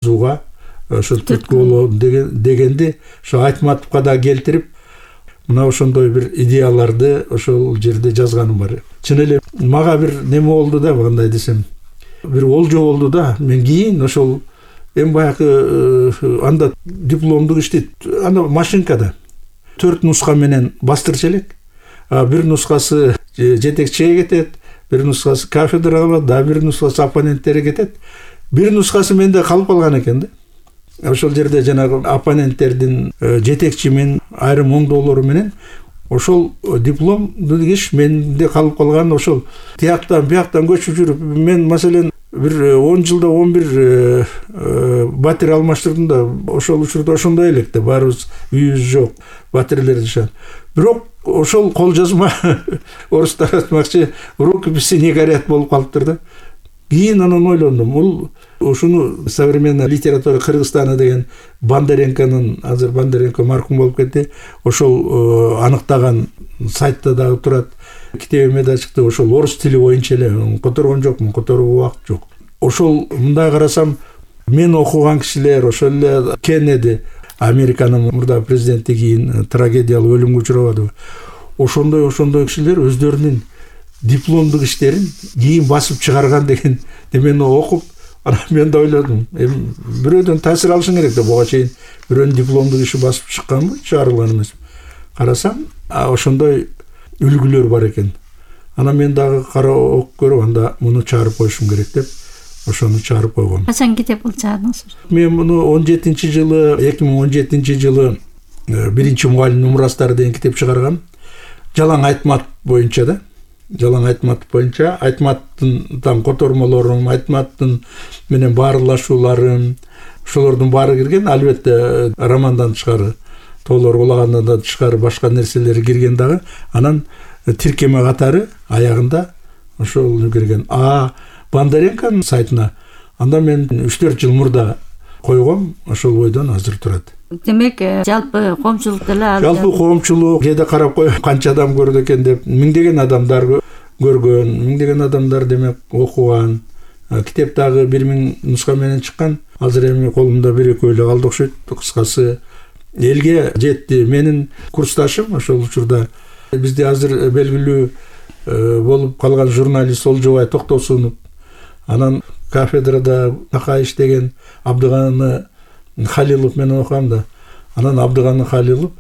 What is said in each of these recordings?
жазууга ошо түрткү болобу дегенди ошо Айтматовго да келтирип, мына ошондой бир идеяларды ошол жерде жазганым бар. Чын эле мага бир неме болду да, кандай десем, бир олжо болду да. Мен кийин ошол эми баягы анда дипломдук ишти анда машинкада 4 нуска менен бастырчу элек. Бир нускасы жетекчиге кетет, бир нускасы кафедрага алат, да бир нускасы оппоненттерге кетет. Бир нускасы менде калып калган экен да. Ошол жерде жанагы оппоненттердин жетекчимен айрым оңдоолору менен ошол дипломдук иш менде калып калган. Ошол тияктан бияктан көчүп жүрүп, мен маселен бир 10 жылда 11 батир алмаштырдым да. Ошол учурда ошондой элек да, баарыбыз үйүбүз жок, батирлер жашат. Бирок ошол кол жазма орустар айтмакчы рукописи не горят болуп калыптыр да. Кийин анан ойлондум, бул ушуну современная литература Кыргызстана деген Бондаренконун, азыр Бондаренко маркум болуп кетти, ошол аныктаган сайтта дагы турат. Китебиме да чыкты, ошол орус тили боюнча эле которгон жокмун, которууга убакыт жок. Ошол мындай карасам, мен окуган кишилер ошол эле Кеннеди, Американын мурда президенти кийин трагедиялык өлүмгө учурабадыбы. Ошондой кишилер өздөрүнүн дипломдук иштерин кийин басып чыгарган деген немени окуп, анан мен да ойлодум, эми бирөөдөн таасир алышың керек да, буга чейин бирөөнүн дипломдук иши басып чыкканбы, чыгарылган эмес. Карасам, ошондой үлгүлөр бар экен. Анан мен дагы карап окуп көрүп, анда муну чыгарып коюшум керек деп, ошону чыгарып койгом. Качан китеп кылып чыгардыңыз? Мен муну 2017 жылы биринчи мугалим мурастары деген китеп чыгаргам. Жалаң Айтматов боюнча да. Жалаң Айтматов боюнча, Айтматовдун котормолорун, Айтматовдун менен баарлашууларын, ошолордун баары кирген. Албетте романдан тышкары, тоолор улагандан да тышкары башка нерселери кирген дагы. Анан тиркеме катары аягында ошол кирген. Бондаренконун сайтына анда мен 3-4 жыл мурда койгом, ошол бойдон азыр турат. Демек, жалпы коомчулук деле жалпы коомчулук кээде карап коюп, канча адам көрдү экен деп, миңдеген адамдар көргөн, миңдеген адамдар демек окуган. Китеп дагы 1000 нуска менен чыккан. Азыр эми колумда 1-2 эле калды окшойт. Кыскасы элге жетти. Менин курсташым ошол учурда бизде азыр белгилүү болуп калган журналист Олжобай Токтосунов, анан кафедрада такай иштеген Абдыганы Халилов менен окугам да. Анан Абдыганы Халилов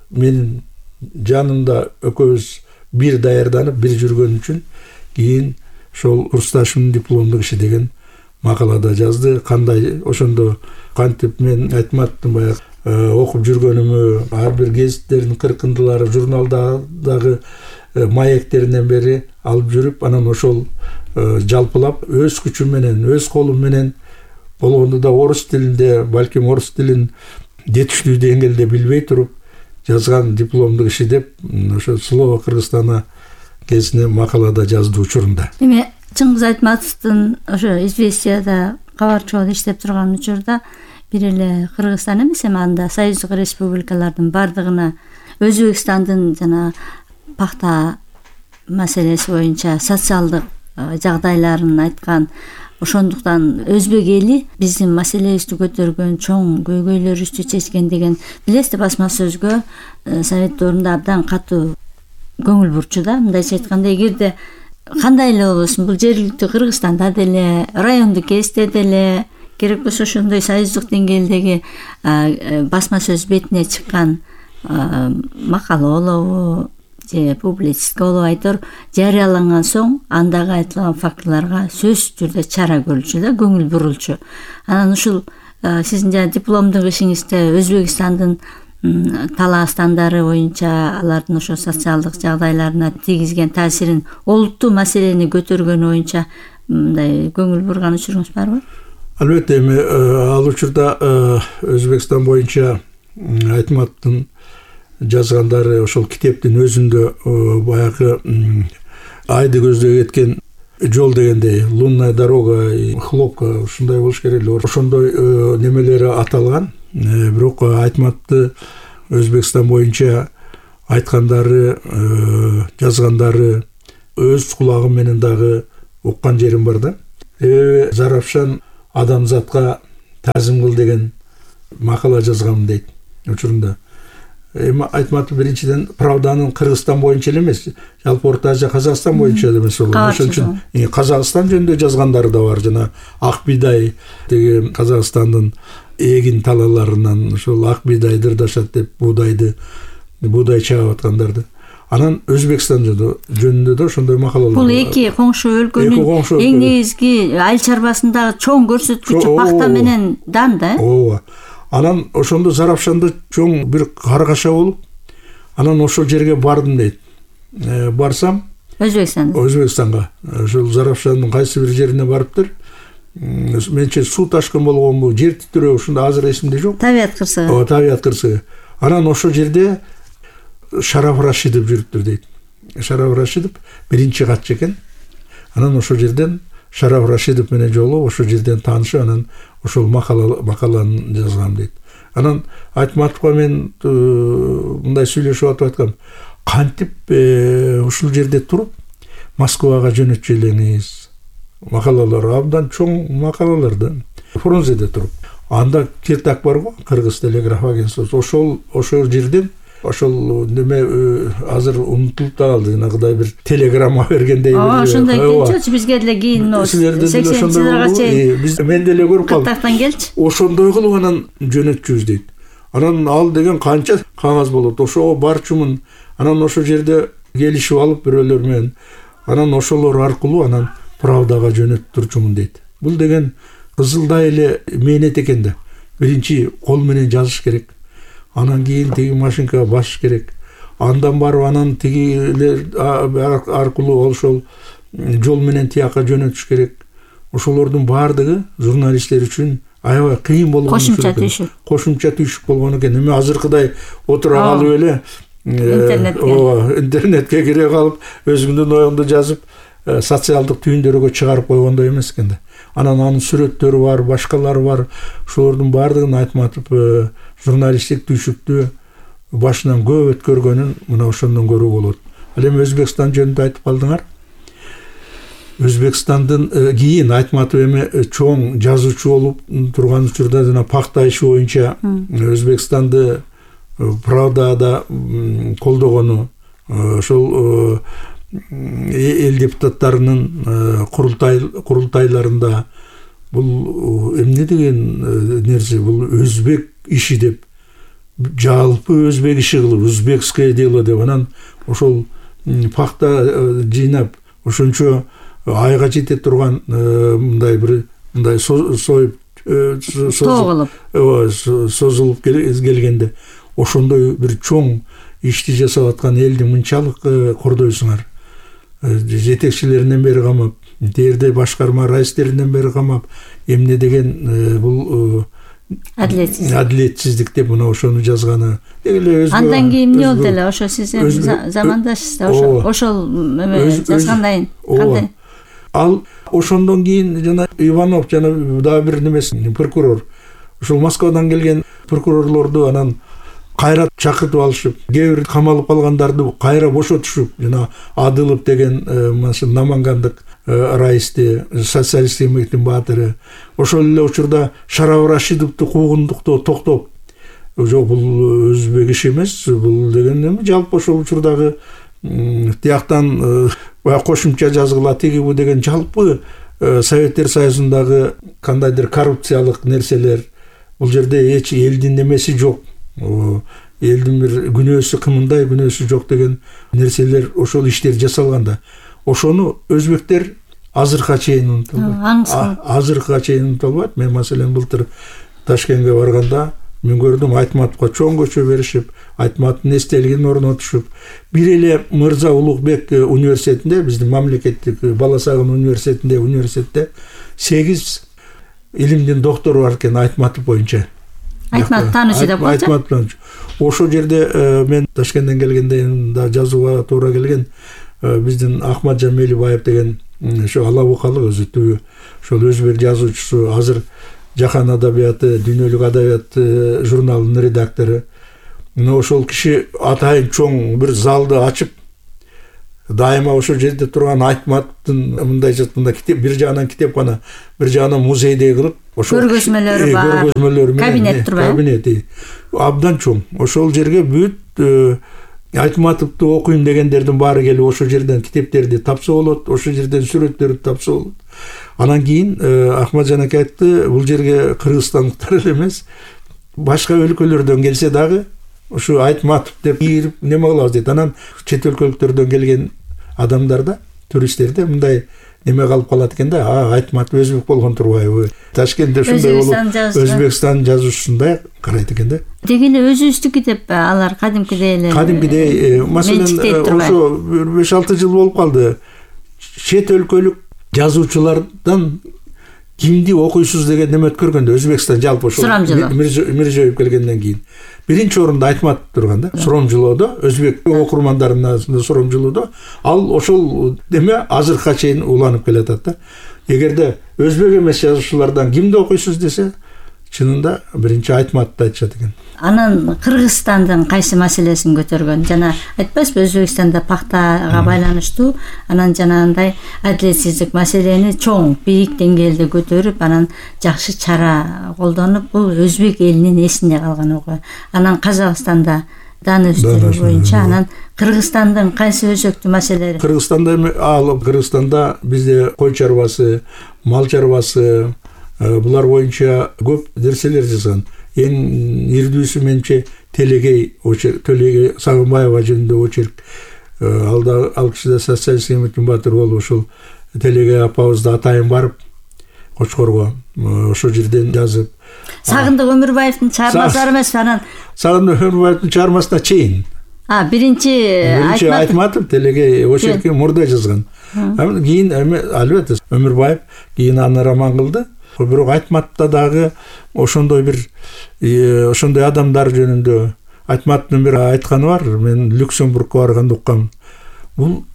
менин жанымда экөөбүз бир даярданып, бир жүргөн үчүн кийин ошол курсташымдын дипломдук иши деген макалада жазды. Кандай ошондо кантип мен Айтматовдун баягы окуп жүргөнүмү, ар бир гезиттердин кыркындылары, журналдагы маектеринен бери алып жүрүп, анан ошол жалпылап өз күчүм менен, өз колум менен болгондо да орус тилинде, балким орус тилин жетиштүү деңгээлде билбей туруп жазган дипломдук иши деп, ошо Слово Кыргызстана кезине макалада жазды учурунда. Эми Чыңгыз Айтматовдун ошо Известияда кабарчы болуп иштеп турган учурда бир эле Кыргызстан эмес, эми анда союздук республикалардын бардыгына Өзбекстандын жана пахта маселеси боюнча социалдык жагдайларын айткан. Ошондуктан өзбек эли биздин маселебизди көтөргөн, чоң көйгөйлөрүбүздү чечкен деген билесиз, басма сөзгө Совет доорунда абдан катуу көңүл бурчу да. Мындайча айтканда, эгерде кандай эле болбосун, бул жергиликтүү Кыргызстанда деле, райондук кезде деле, керек болсо ошондой союздук деңгээлдеги басма сөз бетине чыккан макала болобу же публицистика болуп айтор жарыяланган соң андагы айтылган фактыларга сөзсүз түрдө чара көрүлчү да, көңүл бурулчу. Анан ушул сиздин жана дипломдук ишиңизде Өзбекстандын талаастандары боюнча алардын ошо социалдык жагдайларына тийгизген таасирин, олуттуу маселени көтөргөнү боюнча мындай көңүл бурган учуруңуз барбы? Албетте, эми ал учурда Өзбекстан боюнча Айтматовдун жазгандары ошол китептин өзүндө баягы айды көздөй кеткен жол дегендей, лунная дорога, хлопка, ушундай болуш керек эле. Ошондой немелери аталган. Бирок Айтматовду Өзбекстан боюнча айткандары, жазгандары өз кулагым менен дагы уккан жерим бар да. Зарапшан адамзатка тазым кыл деген макала жазгам дейт учурунда. Эми Айтматов биринчиден Правданын Кыргызстан боюнча эле эмес, жалпы Орто Азия, Казакстан боюнча эле эмес. Ошон үчүн Казакстан жөнүндө жазгандары да бар. Жана ак бидай деген Казакстандын эгин талаларынан ошол ак бидай дырдашат деп буудай чагып аткандарды. Анан Өзбекстан жөнүндө да ошондой макалалар. Бул эки коңшу өлкөнүн эң негизги айыл чарбасындагы чоң көрсөткүчү пахта менен дан да. Ооба. Анан ошондо Зарапшанда чоң бир каргаша болуп, анан ошол жерге бардым дейт. Барсам Өзбекстанга. Ошол Зарапшандын кайсы бир жерине барыптыр. Менче суу ташкын болгонбу, жер титирөө ушунда азыр эсимде жок. Табият кырсыгы. Ооба, табият кырсыгы. Анан ошол жерде Шараф Рашидов жүрүптүр дейт. Шараф Рашидов биринчи катчы экен. Анан ошол жерден Шараф Рашидов менен жолугуп, ошол жерден таанышып, анан ошол макаланы жазгам дейт. Анан Айтматовго мен мындай сүйлөшүп атып айткам, кантип ушул жерде туруп Москвага жөнөтчү элеңиз? Макалалар абдан чоң макалалар да. Фрунзеде туруп. Анда Киртак бар го, Кыргыз телеграф агентствосу. Ошол жерден ошол неме азыр унутулуп да калды. Жанагыдай бир телеграмма бергендей бир. Ошондой келчү бизге деле кийин 80-жылдарга чейин. Мен деле көрүп калдым. Кыртактан келчү. Ошондой кылып анан жөнөтчүбүз дейт. Анан ал деген канча кагаз болот. Ошого барчумун. Анан ошол жерде келишип алып бирөөлөр менен. Анан ошолор аркылуу анан Правдага жөнөтүп турчумун дейт. Бул деген кызылдай эле мээнет экен да. Биринчи кол менен жазыш керек. Анан кийин тиги машинкага басыш керек. Андан барып анан тигилер аркылуу ошол жол менен тияка жөнөтүш керек. Ошолордун баардыгы журналисттер үчүн аябай кыйын болгон. Кошумча түйшүк болгон экен. Эми азыркыдай отура калып эле интернетке кире калып өзүңдүн оюңду жазып социалдык түйүндөргө чыгарып койгондой эмес экен да. Анан анын сүрөттөрү бар, башкалары бар. Ошолордун баардыгын Айтматов журналисттик түйшүктү башынан көп өткөргөнүн мына ошондон көрүү болот. Ал эми Өзбекстан жөнүндө айтып калдыңар. Өзбекстандын кийин Айтматов эми чоң жазуучу болуп турган учурда жана пахта иши боюнча Өзбекстанды Правдада колдогону, ошол эл депутаттарынын курултайларында бул эмне деген нерсе, бул өзбек иши деп, жалпы өзбек иши кылып, узбекское дело деп, анан ошол пахта жыйнап, ошончо айга жете турган мындай бир мындай созулуп келгенде ошондой бир чоң ишти жасап аткан элди мынчалык кордойсуңар. Жетекчилеринен бери камап, дээрде башкарма раистеринен бери камап, эмне деген бул адилетсиздик деп мына ошону жазганы. Андан кийин эмне болду эле? Ошо сиз замандашсыз да, ошол жазгандан кандай? Ал ошондон кийин жана Иванов жана дагы бир немеси прокурор. Ошол Москвадан келген прокурорлорду анан кайра чакыртып алышып, кээ бир камалып калгандарды кайра бошотушуп, жана Адылов деген Намангандык раисти, социалисттик эмгектин баатыры, ошол эле учурда Шараф Рашидовду куугундуктоо токтоп, жок бул өзбек иши эмес, бул деген эми жалпы ошол учурдагы тияктан кошумча жазгыла тиги бу деген жалпы Советтер Союзундагы кандайдыр коррупциялык нерселер, бул жерде эч элдин немеси жок. Элдин бир күнөөсү кымындай, күнөөсү жок деген нерселер, ошол иштер жасалганда, ошону өзбектер азыркыга чейин унутулбайт. Азыркыга чейин унутулбайт. Мен маселен былтыр Ташкентке барганда мен көрдүм, Айтматовго чоң көчө беришип, Айтматовдун эстелигин орнотушуп, бир эле Мырза Улукбек университетинде, биздин мамлекеттик Бала Сагын университетте 8 илимдин доктору бар экен Айтматов боюнча. Айтматов таанычу деп койчу. Ошол жерде мен Ташкенттен келгенде да жазууга туура келген, биздин Ахмат Жамелибаев деген ошо алабукалык өзү түбү ошол өзбек жазуучусу, азыр Жахан адабияты, Дүйнөлүк адабият журналынын редактору. Ошол киши атайын чоң бир залды ачып, дайыма ошол жерде турган Айтматтын мындайча китеп, бир жагынан китепкана, бир жагынан музейдей кылып, ошол көргөзмөлөрү бар, кабинет турбайбы? Кабинети абдан чоң. Ошол жерге бүт Айтматовду окуйм дегендердин баары келип ошол жерден китептерди тапса болот, ошол жерден сүрөттөрдү тапса болот. Анан кийин Ахматжан ака айтты, бул жерге кыргызстандыктар эле эмес, башка өлкөлөрдөн келсе дагы ушу Айтматов деп кирип неме кылабыз дейт. Анан чет өлкөлүктөрдөн келген адамдар да, туристтер да мындай неме калып калат экен да, Айтматов өзбек болгон турбайбы? Ташкентте ушундай болуп, Өзбекстан жазуусундай карайт экен да. Деги эле өзүбүздүкү деп алар кадимкидей эле. Кадимкидей, маселен, ошо 5-6 жыл болуп калды. Чет өлкөлүк жазуучулардан кимди окуйсуз деген неме өткөргөндө Өзбекстан жалпы ошо Миржоев келгенден кийин биринчи орунда Айтматов турган да. Суромжулоодо, өзбек окурмандарынын арасында Суромжулоодо ал ошол неме азыркыга чейин уланып келатат да. Эгерде өзбек эмес жазуучулардан кимди окуйсуз десе, чынында биринчи Айтматовду айтышат экен. Анан Кыргызстандын кайсы маселесин көтөргөн? Жана айтпайсызбы, Өзбекстанда пактага байланыштуу, анан жанагындай адилетсиздик маселени чоң, бийик деңгээлде көтөрүп, анан жакшы чара колдонуп, бул өзбек элинин эсинде калган окуя. Анан Казакстанда дан өстүрүү боюнча, анан Кыргызстандын кайсы өзөктүү маселелери? Кыргызстанда бизде кой чарбасы, мал чарбасы, булар боюнча көп нерселер жазган. Эң ирдүүсү менче Телегей Сагынбаева жөнүндө очерк. Ал киши да социалист Эмекин Батыр болуп, ошол Телегей апабызды атайын барып Кочкорго ошол жерден жазып. Сагындык Өмүрбаевдин чыгармалары эмес, анан Сагындык Өмүрбаевдин чыгармасына чейин. Биринчи Айтматов Телегей очеркти мурда жазган. Кийин албетте Өмүрбаев кийин аны роман кылды. Бирок Айтматовдо дагы ошондой адамдар жөнүндө Айтматовдун бир айтканы бар. Мен Люксембургко барганда уккам. Бул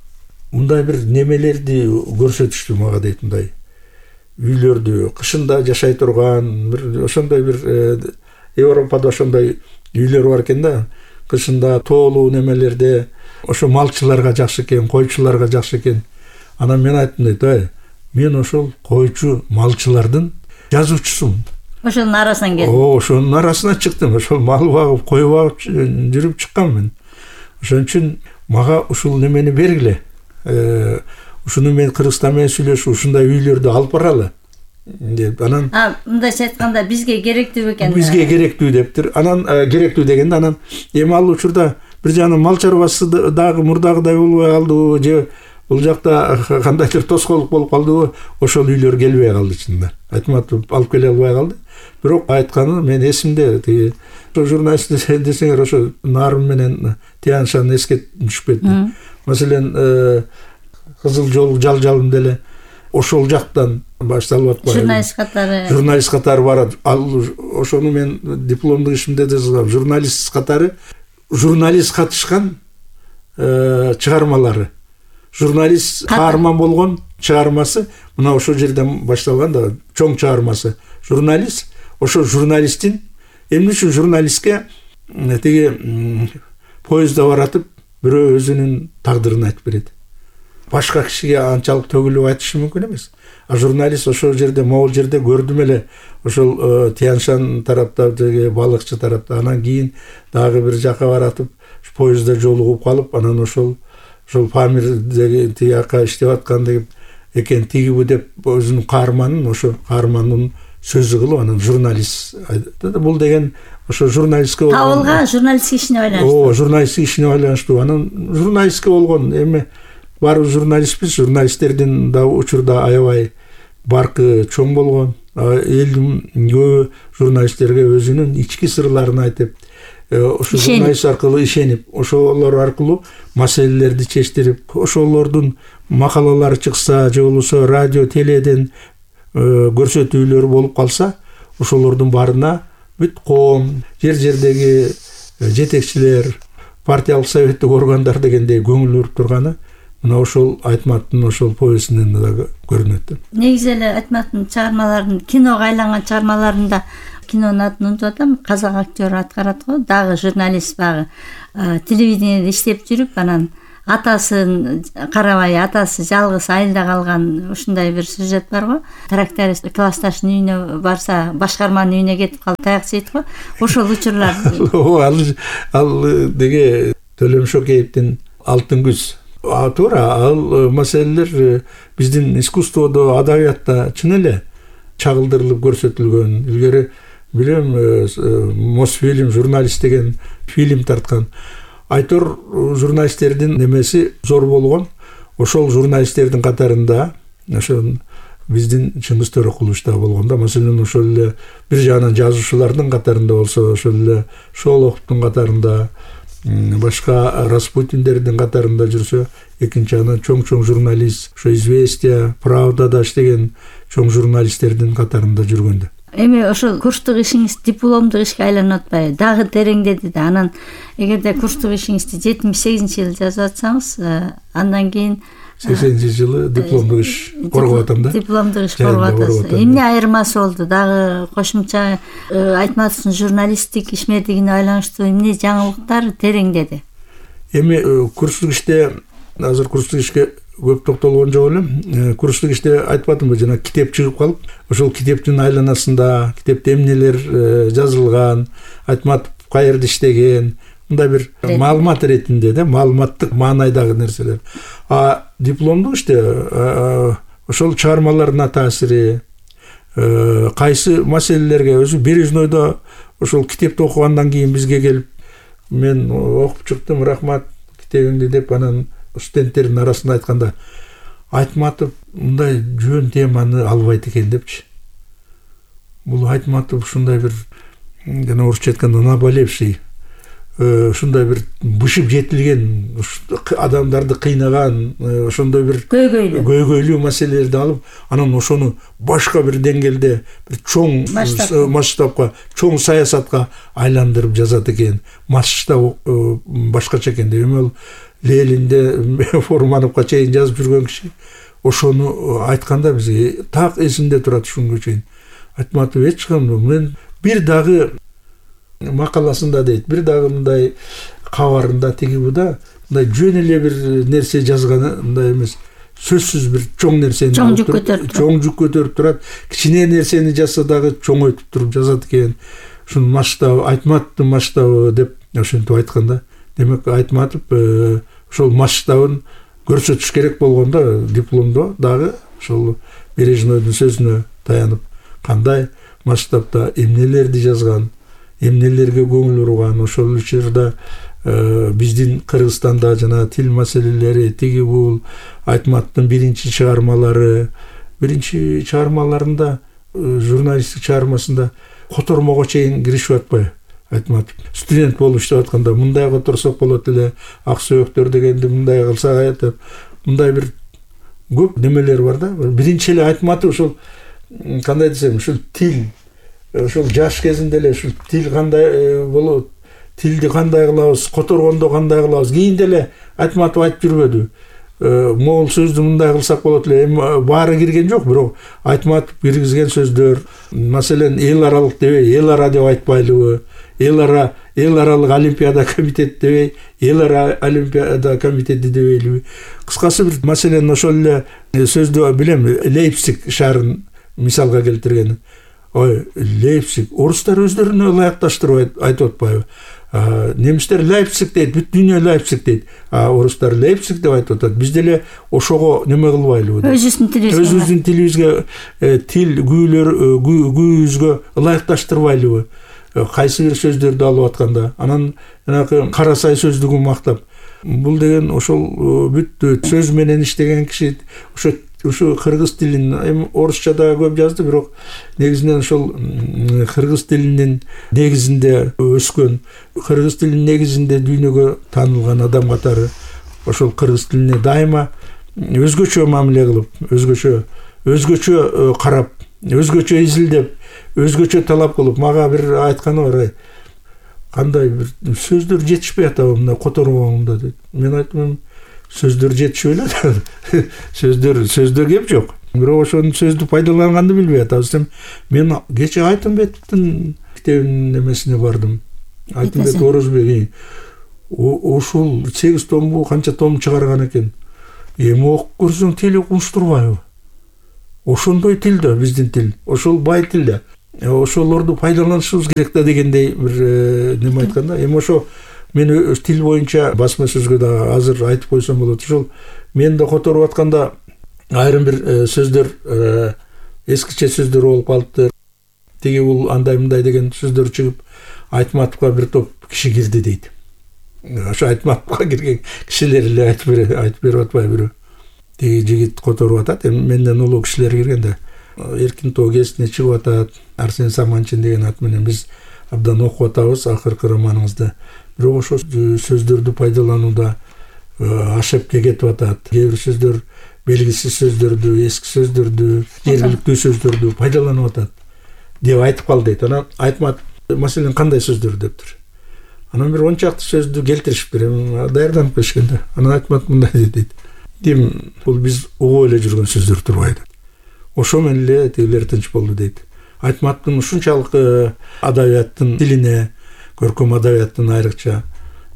мындай бир немелерди көрсөтүштү мага дейт, мындай үйлөрдү кышында жашай турган, бир ошондой бир Европада ошондой үйлөр бар экен да. Кышында тоолуу немелерде ошо малчыларга жакшы экен, койчуларга жакшы экен. Анан мен айттым дейт, мен ошол койчу малчылардын жазуучусумун. Ошонун арасынан келдим. Ошонун арасынан чыктым. Ошол мал багып, кой багып жүрүп чыккам мен. Ошон үчүн мага ушул немени бергиле. Ушуну мен Кыргызстан менен сүйлөшүп, ушундай үйлөрдү алып баралы деп. Анан мындайча айтканда бизге керектүү экен. Бизге керектүү дептир. Анан керектүү дегенде анан эми ал учурда бир жагынан мал чарбасы дагы мурдагыдай болбой калдыбы, же бул жакта кандайдыр тоскоолдук болуп калдыбы, ошол үйлөр келбей калды чынында. Айтматов алып келе албай калды. Бирок айтканы мен эсимде, тиги журналист десеңер ошо Нарын менен Тияншан эске түшүп кетти. Маселен, Кызыл жол жал-жалым деле ошол жактан башталып атпайбы? Журналист катары барат. Ал ошону мен дипломдук ишимде да жазгам. Журналист катары, журналист катышкан чыгармалары. Журналист каарман болгон чыгармасы мына ошол жерден башталган да, чоң чыгармасы. Журналист, ошо журналисттин эмне үчүн журналистке тиги поездда баратып бирөө өзүнүн тагдырын айтып берет. Башка кишиге анчалык төгүлүп айтышы мүмкүн эмес. А журналист ошол жерде, могул жерде көрдүм эле, ошол Тияншан тарапта, балыкчы тарапта, анан кийин дагы бир жака баратып поездда жолугуп калып, анан ошол Памирдеги тияка иштеп аткан деп экен, тигибу деп өзүнүн каарманын, ошо каарманын сөзү кылып, анан журналист. Бул деген ошо журналистке табылган журналисттик ишине байланыштуу. Журналисттик ишине байланыштуу. Анан журналистке болгон эми баары журналистпиз, журналисттердин да учурда аябай баркы чоң болгон. Элдин көбү журналисттерге өзүнүн ички сырларын айтып, ошо журналист аркылуу ишенип, ошолор аркылуу маселелерди чечтирип, ошолордун макалалары чыкса, же болбосо радио, теледен көрсөтүүлөр болуп калса, ошолордун баарына бүт коом, жер-жердеги жетекчилер, партиялык советтик органдар дегендей көңүл буруп турганы мына ошол Айтматовдун ошол повестинен да көрүнөт. Негизи эле Айтматовдун чыгармаларын, киного айланган чыгармаларында, кинонун атын унутуп атам, казак актер аткарат го, дагы журналист, багы телевидениеде иштеп жүрүп, анан атасын карабай, атасы жалгыз айылда калган ушундай бир сюжет бар го. Тракторист классташынын үйүнө барса, башкарманын үйүнө кетип калып таяк жейт го. Ошол учурлар. Ал деге Төлөм Шокеевдин Алтын күз. Туура, ал маселелер биздин искусстводо, адабиятта чын эле чагылдырылып көрсөтүлгөн. Илгери билем, Мосфильм журналист деген фильм тарткан. Айтор журналисттердин немеси зор болгон. Ошол журналисттердин катарында ошо биздин Чыңгыз Төрөкулович да болгон да. Маселен, ошол эле бир жагынан жазуучулардын катарында болсо, ошол эле Шолоховдун катарында, башка Распутиндердин катарында жүрсө, экинчи жагынан чоң журналист, ошо «Известия», «Правдада» иштеген чоң журналисттердин катарында жүргөндө. Эми ошол курстук ишиңиз дипломдук ишке айланып атпайбы? Дагы тереңдеди да. Анан эгерде курстук ишиңизди 78-жылы жазып атсаңыз, андан кийин 80-жылы дипломдук иш коргоп атам да. Дипломдук иш коргоп атасыз. Эмне айырмасы болду? Дагы кошумча Айтматовдун журналисттик ишмердигине байланыштуу эмне жаңылыктар тереңдеди? Эми курстук иште, азыр курстук ишке көп токтолгон жок элем. Курстук иште айтпадымбы, жана китеп чыгып калып, ошол китептин айланасында китепте эмнелер жазылган, Айтматов каерде иштеген, мындай бир маалымат иретинде да, маалыматтык маанайдагы нерселер. Дипломдук иште ошол чыгармаларына таасири, кайсы маселелерге өзү Бережнойдо ошол китепти окугандан кийин бизге келип, мен окуп чыктым, рахмат китебиңди деп, анан студенттердин арасында айтканда, Айтматов мындай жөн теманы албайт экен депчи. Бул Айтматов ушундай бир, жана орусча айтканда, наболевший, ушундай бир бышып жетилген, адамдарды кыйнаган, ошондой бир көйгөйлүү маселелерди алып, анан ошону башка бир деңгээлде, бир чоң масштабка, чоң саясатка айландырып жазат экен. Масштаб башкача экен деп. Эми ал Ленинде Фурмановго чейин жазып жүргөн киши ошону айтканда бизге так эсимде турат ушунга чейин. Айтматов эч кандай, мен бир дагы макаласында дейт, бир дагы мындай кабарында тигибуда мындай жөн эле бир нерсе жазганы мындай эмес. Сөзсүз бир чоң нерсени чоң жүк көтөрүп турат. Кичине нерсени жазса дагы чоңойтуп туруп жазат экен. Ушунун масштабы, Айтматовдун масштабы деп ошентип айтканда, демек Айтматов ошол масштабын көрсөтүш керек болгондо дипломдо дагы ошол Бережнойдун сөзүнө таянып, кандай масштабда эмнелерди жазган, эмнелерге көңүл бурган, ошол учурда биздин Кыргызстанда жана тил маселелери, тиги бул Айтматовдун биринчи чыгармаларында, журналисттик чыгармасында котормого чейин киришип атпайбы? Айтматов студент болуп иштеп атканда мындай которсок болот эле, ак сөөктөр дегенди мындай кылсак айтып, мындай бир көп немелер бар да. Биринчи эле Айтматов ошол кандай десем, ушул тил, ошол жаш кезинде эле ушул тил кандай болот, тилди кандай кылабыз, которгондо кандай кылабыз, кийинде эле Айтматов айтып жүрбөдү. Могул сөздү мындай кылсак болот эле. Эми баары кирген жок, бирок Айтматов киргизген сөздөр, маселен, эл аралык дебей, эл ара деп айтпайлыбы, эл аралык олимпиада комитети дебей, эл ара олимпиада комитети дебейлиби. Кыскасы бир маселен ошол эле сөздү билем, Лейпциг шаарын мисалга келтирген. Ой, Лейпциг, орустар өздөрүнө ылайыкташтырып айтып атпайбы? Немистер Лейпциг дейт, бүт дүйнө Лейпциг дейт. Орустар Лейпциг деп айтып атат. Биз деле ошого неме кылбайлыбы? Өзүбүздүн тилибизге, тил күйүбүзгө ылайыкташтырбайлыбы? Кайсы бир сөздөрдү алып атканда, анан жанагы Карасай сөздүгүн мактап. Бул деген ошол бүт сөз менен иштеген киши, ошо кыргыз тилин, эми орусча да көп жазды, бирок негизинен ошол кыргыз тилинин негизинде өскөн, кыргыз тилинин негизинде дүйнөгө таанылган адам катары ошол кыргыз тилине дайыма өзгөчө мамиле кылып, өзгөчө карап, өзгөчө изилдеп, өзгөчө талап кылып, мага бир айтканы бар, кандай бир сөздөр жетишпей атабы мына которгоңдо дейт. Мен айттым, сөздөр жетишип эле. Сөздөр кеп жок. Бирок ошонун сөздү пайдаланганды билбей атабыз. Мен кече Айтымбеттин китебинин немесине бардым. Айтымбет Орозбек. ушул 8 томбу канча том чыгарган экен. Эми окуп көрсөң тили уктуштурбайбы? Ошондой тил да биздин тил. Ошол бай тил да. Ошолорду пайдаланышыбыз керек да дегендей бир неме айтканда. Эми ошо мен тил боюнча басма сөзгө да азыр айтып койсом болот. Ошол мен да которуп атканда айрым бир сөздөр эскиче сөздөр болуп калыптыр. Тиги бул андай мындай деген сөздөр чыгып, Айтматовго бир топ киши кирди дейт. Ошо Айтматовго кирген кишилер эле айтып берип атпайбы? Тиги жигит которуп атат. Эми менден улуу кишилер кирген да. Эркин Тоо гезитине чыгып атат. Арсен Саманчин деген ат менен биз абдан окуп атабыз акыркы романыңызды. Бирок ошо сөздөрдү пайдаланууда ашып кетип атат. Кээ бир сөздөр белгисиз сөздөрдү, эски сөздөрдү, жергиликтүү сөздөрдү пайдаланып атат деп айтып калды дейт. Анан Айтматов маселен кандай сөздөр дептир. Анан бир 10 чакты сөздү келтиришиптир. Даярданып келишкен да. Анан Айтматов мындай дейт. Дем бул биз угуп эле жүргөн сөздөр турбайбы? Ошо менен эле тигилер тынч болду дейт. Айтматовдун ушунчалык адабияттын тилине, көркөм адабияттын айрыкча,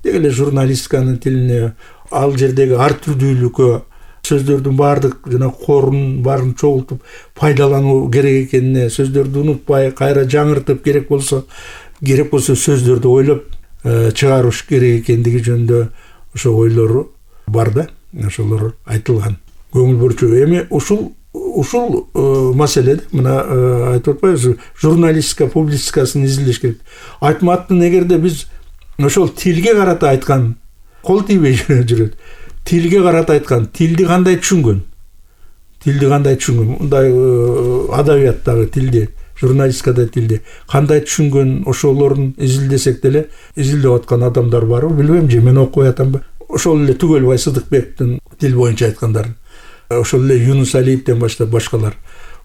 деги эле журналистиканын тилине, ал жердеги ар түрдүүлүккө сөздөрдүн баардык жана корун баарын чогултуп пайдалануу керек экенине, сөздөрдү унутпай, кайра жаңыртып керек болсо сөздөрдү ойлоп чыгарыш керек экендиги жөнүндө ошо ойлору бар да. Ошолор айтылган. Көңүл бурчу. Эми ушул маселеде мына айтып атпайбызбы? Журналистика, публистикасын изилдеш керек. Айтматовдун эгерде биз ошол тилге карата айткан, кол тийбей жүрөт. Тилге карата айткан, тилди кандай түшүнгөн? Мындай адабияттагы тилди, журналистикада тилди кандай түшүнгөн, ошолорун изилдесек деле, изилдеп аткан адамдар барбы? Билбейм, же мен окуй атамбы? Ошол эле Түгөлбай Сыдыкбектин тил боюнча айткандарын, ошол эле Юнус Алиевден баштап башкалар.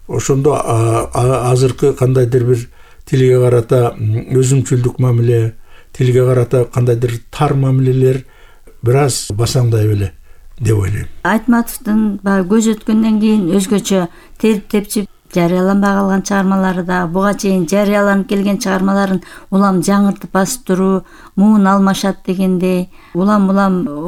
Ошондо азыркы кандайдыр бир тилге карата өзүмчүлдүк мамиле, тилге карата кандайдыр тар мамилелер бир аз басаңдай беле деп ойлойм. Айтматовдун баягы көз өткөндөн кийин өзгөчө терип-тепчип жарыяланбай калган чыгармалары да, буга чейин жарыяланып келген чыгармаларын улам жаңыртып басып туруу, муун алмашат дегендей, улам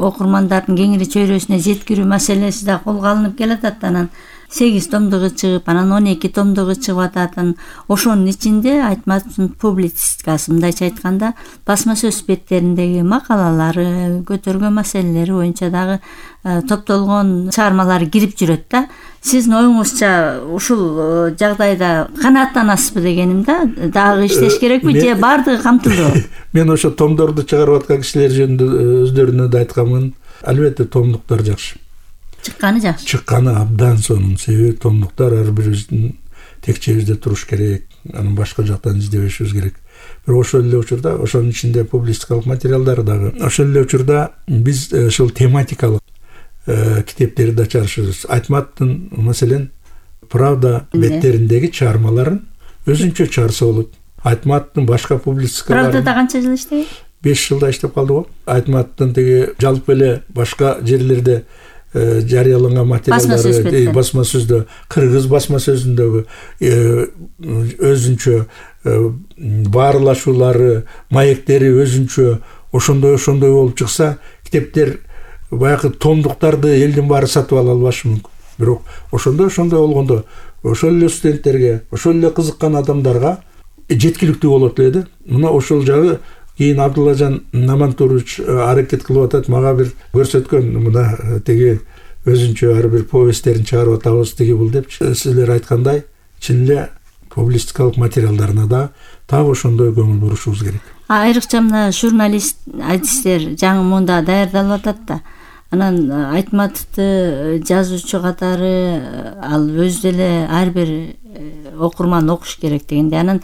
окурмандардын кеңири чөйрөсүнө жеткирүү маселеси да колго алынып келатат. Анан 8 томдугу чыгып, анан 12 томдугу чыгып атат. Ошонун ичинде Айтматовдун публицистикасы, мындайча айтканда, басма сөз беттериндеги макалалары, көтөргөн маселелери боюнча дагы топтолгон чыгармалары кирип жүрөт да. Сиздин оюңузча ушул жагдайда канааттанасызбы дегеним да? Дагы иштеш керекпи же баардыгы камтылдыбы? Мен ошо томдорду чыгарып аткан кишилер жөнүндө өздөрүнө да айтканмын. Албетте томдуктар жакшы. Чыкканы жакшы. Чыкканы абдан сонун. Себеби томдуктар ар бирибиздин текчебизде туруш керек. Анан башка жактан издебешибиз керек. Бирок ошол эле учурда, ошонун ичинде публистикалык материалдар дагы. Ошол эле учурда биз ошол тематикалык китептерди да чыгарышыбыз. Айтматовдун маселен Правда беттериндеги чыгармаларын өзүнчө чыгарса болот. Айтматовдун башка публистикаларын Правдада канча жыл иштеген? 5 жылда иштеп калды го. Айтматовдун тиги жалпы эле башка жерлерде жарыяланган материалдары басма сөздө, кыргыз басма сөзүндөгү өзүнчө баарлашуулары, маектери өзүнчө ошондой болуп чыкса, китептер баягы томдуктарды элдин баары сатып ала албашы мүмкүн. Бирок ошондой болгондо ошол эле студенттерге, ошол эле кызыккан адамдарга жеткиликтүү болот эле да. Мына ошол жагы кийин Абдуллажан Намантурович аракет кылып атат, мага бир көрсөткөн, мына тиги өзүнчө ар бир повесттерин чыгарып атабыз тиги бул деп. Силер айткандай, чын эле публистикалык материалдарына да так ошондой көңүл бурушубуз керек. Айрыкча мына журналист адистер жаңы мында даярдалып атат да. Анан Айтматовду жазуучу катары ал өзү деле ар бир окурман окуш керек дегенде. Анан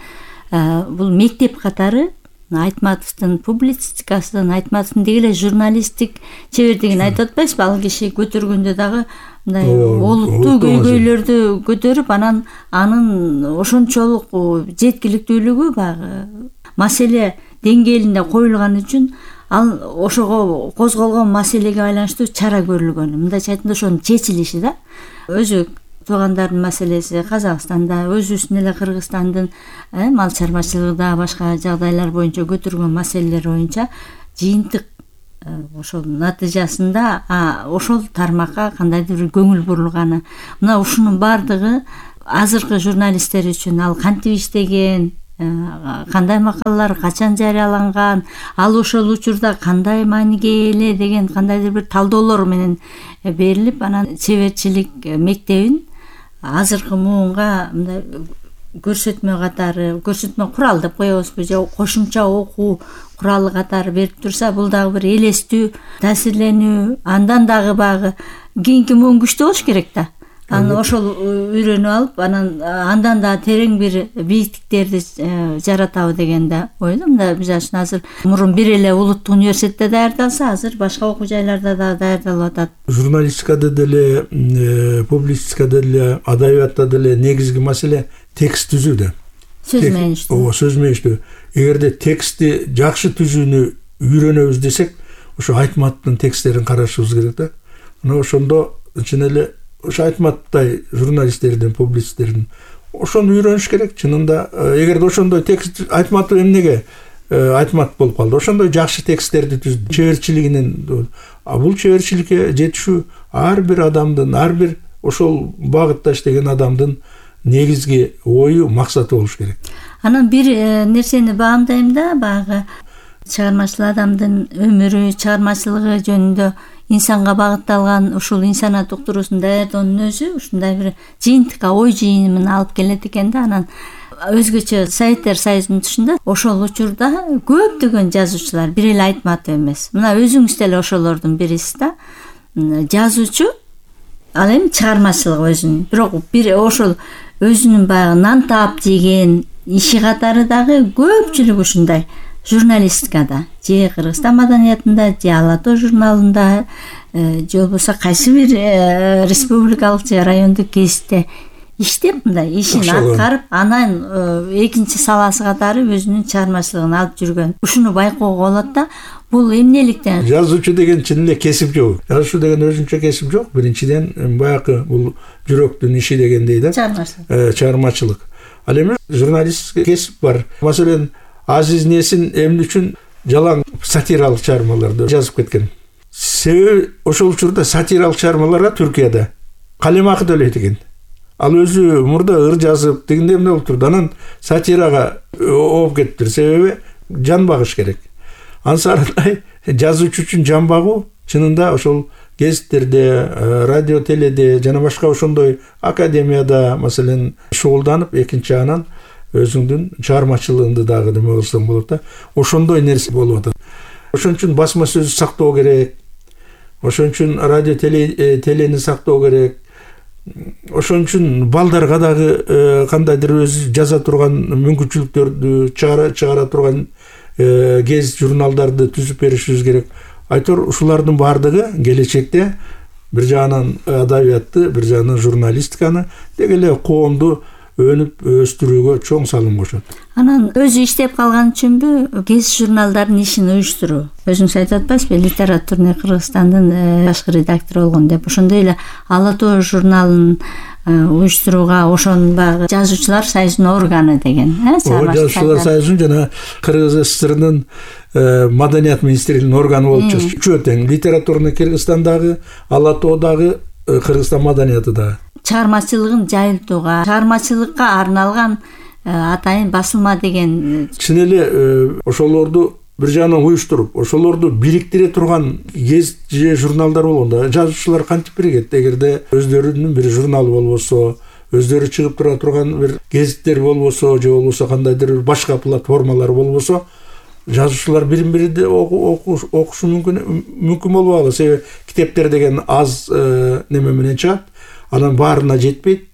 бул мектеп катары Айтматовдун публицистикасын, Айтматовдун деги эле журналисттик чебердигин айтып атпайсызбы? Ал киши көтөргөндө дагы мындай олуттуу көйгөйлөрдү көтөрүп, анан анын ошончолук жеткиликтүүлүгү баягы маселе деңгээлинде коюлган үчүн ал ошого козголгон маселеге байланыштуу чара көрүлгөн. Мындайча айтканда ошонун чечилиши да. Өзү туугандардын маселеси Казакстанда, өзүбүздүн эле Кыргызстандын мал чарбачылыгында башка жагдайлар боюнча көтөргөн маселелер боюнча жыйынтык ошол натыйжасында ошол тармакка кандайдыр бир көңүл бурулганы, мына ушунун баардыгы азыркы журналисттер үчүн ал кантип иштеген, кандай макалалар качан жарыяланган, ал ошол учурда кандай мааниге эле деген кандайдыр бир талдоолор менен берилип, анан чеберчилик мектебин азыркы муунга мындай көрсөтмө катары, көрсөтмө курал деп коебузбу же кошумча окуу куралы катары берип турса, бул дагы бир элестүү, таасирленүү, андан дагы баягы кийинки муун күчтүү болуш керек да. Анан ошол үйрөнүп алып, андан да терең бир бийиктиктерди жаратабы деген да ойлойм. Мында мисалы үчүн азыр мурун бир эле улуттук университетте даярдалса, азыр башка окуу жайларда да даярдалып атат. Журналистикада деле, публицистикада деле, адабиятта деле негизги маселе текст түзүүдө. Сөз меништүү. Ооба, сөз меништүү. Эгерде текстти жакшы түзүүнү үйрөнөбүз десек, ошо Айтматовдун тексттерин карашыбыз керек да. Мына ошондо чын эле ошо Айтматовдай журналисттердин, публицисттердин ошону үйрөнүш керек. Чынында эгерде ошондой текст Айтматов эмнеге Айтматов болуп калды? Ошондой жакшы тексттерди түздү. Чеберчилигинен, бул чеберчиликке жетишүү ар бир адамдын, ар бир ошол багытта иштеген адамдын негизги ою, максаты болуш керек. Анан бир нерсени баамдайм да, баягы чыгармачыл адамдын өмүрү, чыгармачылыгы жөнүндө инсанга багытталган ушул инсаният уктуруусун даярдоонун өзү ушундай бир жыйынтыкка, ой жыйынын алып келет экен да. Анан өзгөчө Советтер Союзунун тушунда ошол учурда көптөгөн жазуучулар, бир эле Айтматов эмес. Мына өзүңүз деле ошолордун бирисиз да. Жазуучу, ал эми чыгармачылык өзүнүн, бирок бир ошол өзүнүн баягы нан таап жеген иши катары дагы көпчүлүк ушундай журналистикада, же Кыргызстан маданиятында, же Ала Тоо журналында, же болбосо кайсы бир республикалык же райондук гезитте иштеп, мындай ишин аткарып, анан экинчи саласы катары өзүнүн чыгармачылыгын алып жүргөн. Ушуну байкоого болот да. Бул эмнеликтен? Жазуучу деген чын эле кесип жок. Жазуучу деген өзүнчө кесип жок. Биринчиден баягы бул жүрөктүн иши дегендей да. Чыгармачылык. Ал эми журналистик кесип бар. Маселен, Азиз Несин эмне үчүн жалаң сатиралык чыгармаларды жазып кеткен? Себеби ошол учурда сатиралык чыгармаларга Түркияда калемакы төлөйт экен. Ал өзү мурда ыр жазып, дегенде эмне болуп турду? Анан сатирага ооп кетиптир. Себеби жан багыш керек. Ансардай жазуучу үчүн жан багуу чынында ошол гезиттерде, радио, теледе жана башка ошондой академияда маселен шугулданып, экинчи анан өзүңдүн чыгармачылыгыңды дагы неме кылсаң болот да. Ошондой нерсе болуп атат. Ошон үчүн басма сөз сактоо керек. Ошон үчүн радио, телени сактоо керек. Ошон үчүн балдарга дагы кандайдыр өзү жаза турган мүмкүнчүлүктөрдү чыгара турган гезит, журналдарды түзүп беришибиз керек. Айтор ушулардын баардыгы келечекте бир жагынан адабиятты, бир жагынан журналистиканы деги эле коомду өнүп өстүрүүгө чоң салым кошот. Анан өзү иштеп калган үчүнбү гезит журналдардын ишин уюштуруу? Өзүңүз айтып атпайсызбы, литературный Кыргызстандын башкы редактору болгон деп. Ошондой эле Ала Тоо журналын уюштурууга ошонун баягы жазуучулар союзунун органы деген, жазуучулар союзунун жана Кыргыз СССРнын маданият министрлигинин органы болуп чыгыш. Үчөө тең, литературный Кыргызстандагы, Ала Тоодагы, Кыргызстан маданияты дагы. Чыгармачылыгын жайылтууга, чыгармачылыкка арналган атайын басылма деген. Чын эле ошолорду бир жагынан уюштуруп, ошолорду бириктире турган гезит же журналдар болгондо жазуучулар кантип биригет? Эгерде өздөрүнүн бир журналы болбосо, өздөрү чыгып тура турган бир гезиттер болбосо, же болбосо кандайдыр башка платформалар болбосо, жазуучулар бирин-бири окушу мүмкүн болбогу. Себеби китептер деген аз неме менен чыгат. Анан баарына жетпейт.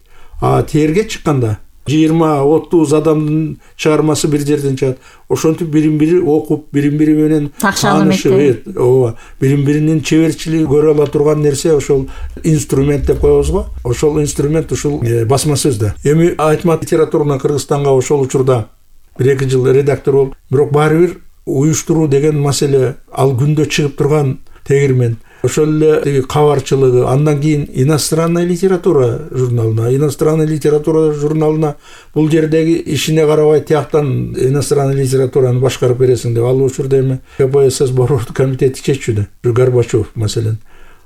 Терге чыкканда 20-30 адамдын чыгармасы бир жерден чыгат. Ошентип бирин-бири окуп, бирин-бири менен таанышып, ооба, бирин-биринин чеберчилиги көрө ала турган нерсе ошол инструмент деп коебузго. Ошол инструмент ушул басма сөз да. Эми Айтматов литературный Кыргызстанга ошол учурда 1-2 жыл редактор болуп, бирок баары бир уюштуруу деген маселе ал күндө чыгып турган тегирмен. ошол эле тиги кабарчылыгы, андан кийин иностранная литература журналына бул жердеги ишине карабай тияктан иностранная литератураны башкарып бересиң деп, ал учурда эми КПСС борбордук комитети чечүүдө, Горбачев маселен.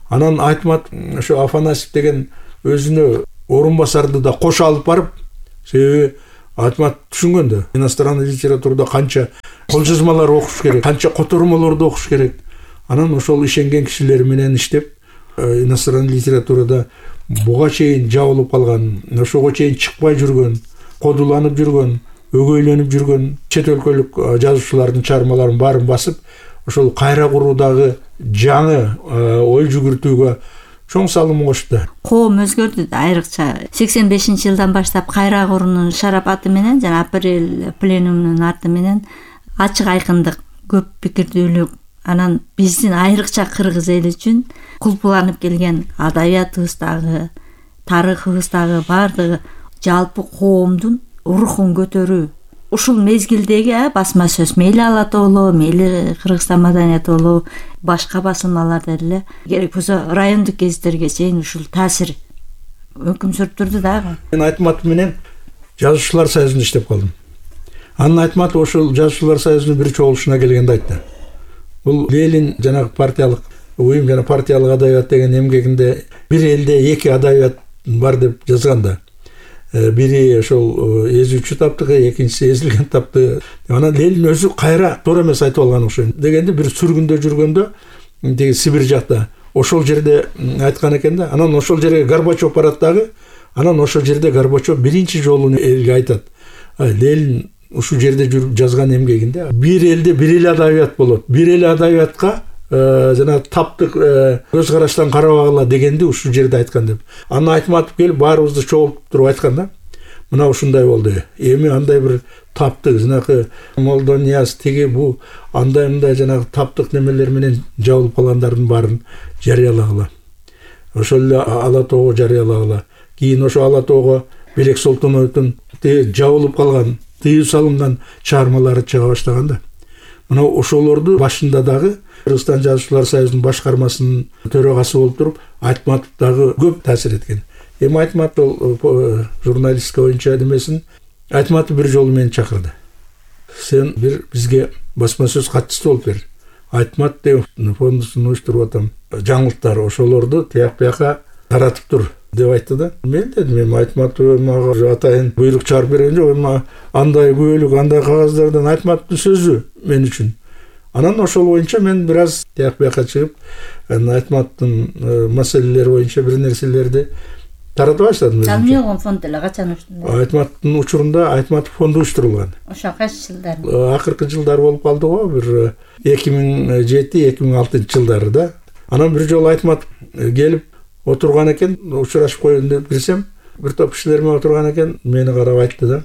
Анан Айтматов ошо Афанасьев деген өзүнө орун басарды да кошо алып барып, себеби Айтматов түшүнгөн да, иностранный литературада канча кол жазмалар окуш керек, канча котормолорду окуш керек. Анан ошол ишенген кишилер менен иштеп, иностранный литературада буга чейин жабылып калган, ошого чейин чыкпай жүргөн, кодуланып жүргөн, өгөйлөнүп жүргөн чет өлкөлүк жазуучулардын чыгармаларын баарын басып, ошол кайра куруудагы жаңы ой жүгүртүүгө чоң салым кошту. Коом өзгөрдү да, айрыкча 85-жылдан баштап кайра куруунун шарапаты менен жана апрель пленумунун арты менен ачык айкындык, көп пикирдүүлүк, анан биздин айрыкча кыргыз эли үчүн кулпуланып келген адабиятыбыздагы, тарыхыбыздагы баардыгы жалпы коомдун рухун көтөрүү. Ушул мезгилдеги басма сөз, мейли Ала Тоолоо, мейли Кыргызстан маданияты болобу, башка басылмаларда эле керек болсо райондук гезиттерге чейин ушул таасир өкүм сүрүптүрдү дагы. Мен Айтматов менен жазуучулар союзунда иштеп калдым. Анан Айтматов ошол жазуучулар союзунун бир чогулушуна келгенде айтты. Бул Ленин жанагы партиялык уюм жана партиялык адабият деген эмгегинде бир элде эки адабият бар деп жазган да. Бири ошол эзүүчү таптыгы, экинчиси эзилген таптыгы. Анан Ленин өзү кайра туура эмес айтып алган окшойт. Дегенде бир сүргүндө жүргөндө, тиги Сибирь жакта, ошол жерде айткан экен да. Анан ошол жерге Горбачев барат дагы. Анан ошол жерде Горбачев биринчи жолу элге айтат. Ленин ушул жерде жүрүп жазган эмгегинде бир элде бир эле адабият болот. Бир эле адабиятка жана таптык көз караштан карабагыла дегенди ушул жерде айткан деп. Анан Айтматов келип баарыбызды чогултуп туруп айткан да. Мына ушундай болду. Эми андай бир таптык, жанагы Молдонияс тиги бу андай жанагы таптык немелер менен жабылып калгандардын баарын жарыялагыла. Ошол эле Ала Тоого жарыялагыла. Кийин ошо Ала Тоого Белек Солтоновдун жабылып калган, тыюу салынган чыгармалары чыга баштаган да. Мына ошолорду башында дагы Кыргызстан жазуучулар союзунун башкармасынын төрагасы болуп туруп, Айтматов дагы көп таасир эткен. Эми Айтматов журналистика боюнча демесин, Айтматов бир жолу мени чакырды. Сен бир бизге басма сөз катчысы болуп бер. Айтматов деген фондусун уюштуруп атам. Жаңылыктар ошолорду тияк бияка таратып тур деп айтты да. Мен дедим, Айтматов мага атайын буйрук чыгарып берген жок, андай күбөлүк, андай кагаздардан Айтматовдун сөзү мен үчүн. Анан ошол боюнча мен бир аз тияк бияка чыгып, Айтматовдун маселелери боюнча бир нерселерди тарата баштадым. Жалмиогон фонд эле качан уюштурулду? Айтматовдун учурунда Айтматов фонду уюштурулган. Ошо кайсы жылдар? Акыркы жылдар болуп калды го, бир 2007-2006 жылдары да. Анан бир жолу Айтматов келип отурган экен, учурашып коеюн деп кирсем, бир топ кишилер менен отурган экен, мени карап айтты да.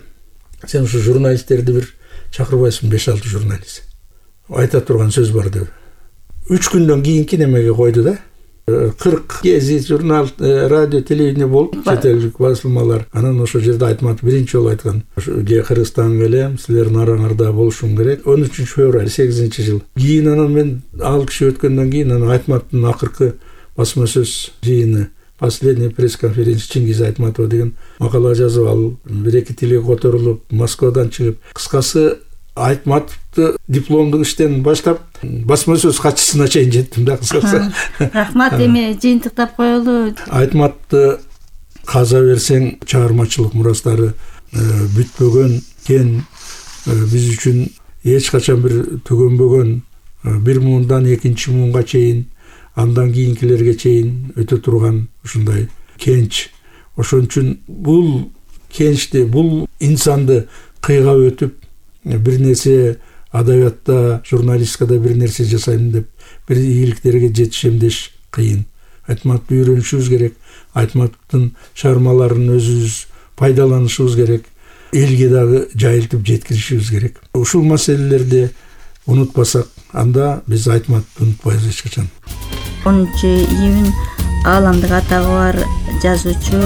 Сен ушу журналисттерди бир чакырбайсың, 5-6 журналист. Айта турган сөз бар деп. 3 күндөн кийинки немеге койду да. 40 гезит, журнал, радио, телевидение болуп, чет элдик басылмалар. Анан ошол жерде Айтматов биринчи жолу айткан. Кыргызстанга келем, силердин араңарда болушум керек. 13 февраль 8-жыл. Кийин анан мен ал киши өткөндөн кийин анан Айтматовдун акыркы басма сөз жыйыны, последняя пресс-конференция Чингиз Айтматов деген макала жазып, ал бир-эки тилге которулуп, Москвадан чыгып, кыскасы Айтматовду дипломдук иштен баштап басма сөз катчысына чейин жеттим да, кыскасы. Рахмат, эми жыйынтыктап коелу. Айтматовду каза берсең, чыгармачылык мурастары бүтпөгөн, кен биз үчүн эч качан бир түгөнбөгөн, бир муундан экинчи муунга чейин, андан кийинкилерге чейин өтө турган ушундай кенч. Ошон үчүн бул кенчти, бул инсанды кыйгап өтүп, бир нерсе адабиятта, журналистикада бир нерсе жасайм деп, бир ийгиликтерге жетишем деш кыйын. Айтматовду үйрөнүшүбүз керек, Айтматовдун чыгармаларын өзүбүз пайдаланышыбыз керек, элге дагы жайылтып жеткиришибиз керек. Ушул маселелерди унутпасак, анда биз Айтматовду унутпайбыз эч качан. 10-июнь ааламдык атагы бар жазуучу,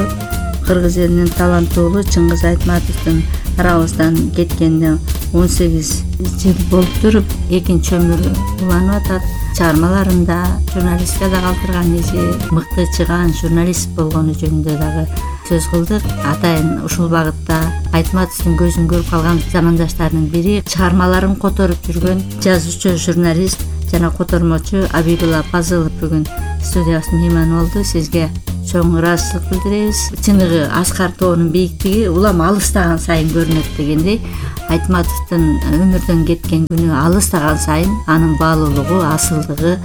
кыргыз элинин таланттуулу Чыңгыз Айтматовдун арабыздан кеткенине 18 жыл болуп туруп, экинчи өмүрү уланып атат. Чыгармаларында журналистикада калтырган изи, мыкты чыгаан журналист болгону жөнүндө дагы сөз кылдык. Атайын ушул багытта Айтматовдун көзүн көрүп калган замандаштарынын бири чыгармаларын которуп жүргөн жазуучу, журналист жана котормочу Абидулла Пазылов бүгүн студиябыздын мейманы болду. Сизге чоң ыраазычылык билдиребиз. Чыныгы Аскар тоонун бийиктиги улам алыстаган сайын көрүнөт дегендей, Айтматовдун өмүрдөн кеткен күнү алыстаган сайын анын баалуулугу, асылдыгы,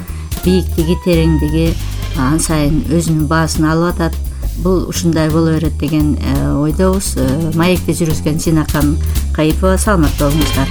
бийиктиги, тереңдиги ан сайын өзүнүн баасын алып атат. Бул ушундай боло берет деген ойдобуз. Маекте жүргүзгөн Жинакан Кайыпова, саламатта болуңуздар.